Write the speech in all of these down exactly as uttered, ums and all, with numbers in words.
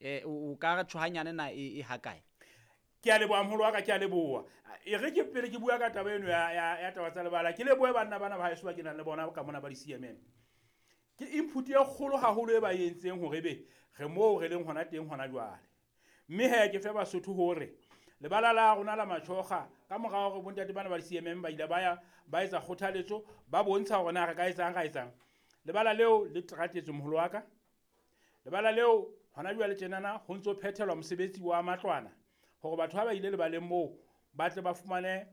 Eh o ka re tshohanyane na e e hakae? Ke a leboha moholo wa ka, ke a leboha. E re ke pele ke bua ka taba eno ya ya ya taba tsa lebala, ke lebohe banna bana ba haeso ba ke nang le bona ka mona ba di-C M M. Ke input e kgolo haholo e ba entseng hore ebe re moo re leng hona teng hona jwale. Mme he ke fe Basotho hore lebala la rona la Matjhoga ka mora hore bontate bana ba di-C M M ba ile ba ya ba etsa kgothaletso, ba bontsha hore na re ka etsang, ra etsang. Lebala leo le teratetswe moholo wa ka. Lebala leo hona jwale tjenana ho ntso phethelwa mosebetsi wa matlwana hore batho ha ba ile lebaleng moo ba tle ba fumane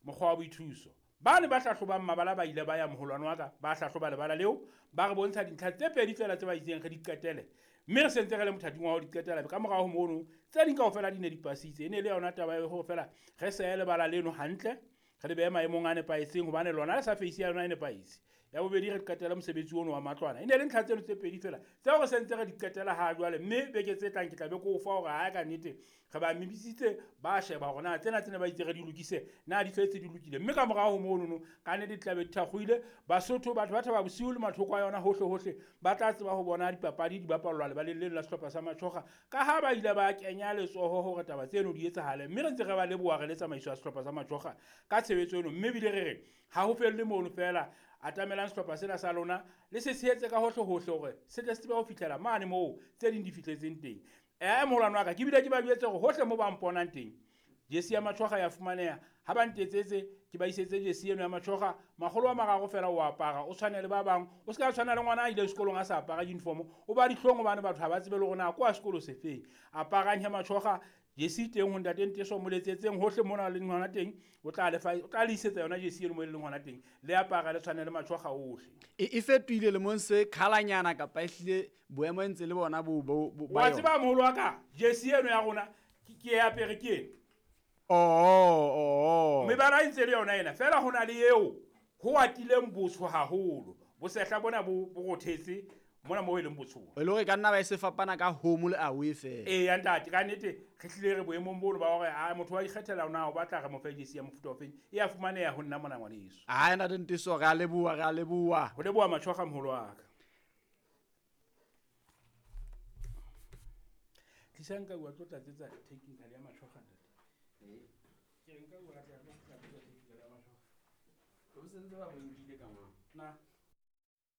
mokgwa wa boithuso. Ba ne ba hlahlobang mabala ba ile ba ya moholwane wa ka, ba hlahloba lebala leo, ba re bontsha dintlha tse pedi feela tse ba itseng re di qetele. Mme re sentse re le mothating wa ho di qetela ka morao ho mono, tse ding kaofela di ne di pasitse. E ne e le yona taba ya hore feela re sehe lebala leno hantle, re le behe maemong a nepahetseng hobane lona le sa face ya yona e nepahetse. Ya bobedi re qetele mosebetsi ono wa matlwana. E ne le ntlha tseno tse pedi feela tseo re sentse re di qetela ha jwale, mme beke tse tlang ke tla be ke o fa hore ha ka nnete re ba mebisitse, ba sheba hore na tsena tsene ba itse re di lokise, na di fetse di lokile. Mme ka morao ho monono ka nnete di tla be di thakgohile. Basotho, batho ba Thaba Bosiu le mathoko a yona hohle hohle ba tla tseba ho bona dipapadi di bapallwa lebaleng leno la sehlopha sa Matjhoga, ka ha ba ile ba kenya letsoho hore taba tseno di etsahale. Mme re ntse re ba leboha re le tsamaiso ya sehlopha sa Matjhoga ka tshebetso eno. Mme ebile re re ha ho felle mono feela, atamelang sehlopha sena sa lona le se tshehetse ka hohle hohle hore se tle se tsebe ho fihlela mane moo tse ding di fihletseng teng. Eh, moholwane wa ka, ke bile ke ba jwetse hore hohle moo ba mponang teng jesi ya Matjhoga ya fumaneha. Ha ba ntetsetse ke ba isetse jesi eno ya Matjhoga, makgolo a mararo feela o apara, o tshwane le ba bang. O se ka tshwana le ngwana a ileng sekolong a sa apara uniform, o ba dihlong hobane batho ha ba tsebe le hore na kwa sekolo se feng. Aparang he Matjhoga, jesi teng ho ntate Nteso, mo letsetseng hohle mona leng hona teng, o tla le fa, o tla le isetsa yona jesi eno mo e leng hona teng. Le apara le tshwane le Matjhoga ohle. E, e fetohile lemong se khalanyana kapa ehlile boemo e ntse le bona bo, bo, bo, ba Wa yona? tseba moholo wa ka, jesi eno ya rona ke, ke e apere ke eno. Oh, oh, oh. Mebala e ntse le yona ena, feela ho na le eo ho atileng botsho haholo. Bosehla bona bo, bo rothetse mona moo e leng botsho. E le hore e ka nna ba e se fapana ka home le away feela. Ee, ya ntate, ka nnete re hlile re boemong bono ba hore, ah, motho wa ikgethela na o batla re mo fe jesi ya mofuta ofeng, e a fumaneha ho nna mona ngwaneso. Ai, ntate Nteso, re a leboha, re a leboha. Ho leboha Matjhoga moholo wa ka. Tlisang ka bua tlo tlatsetsa technical ya Matjhoga ntate. Ke re nka bua tla tlo tlatsetsa technical ya Matjhoga. O sentse ba mo nkile ka mang? Na.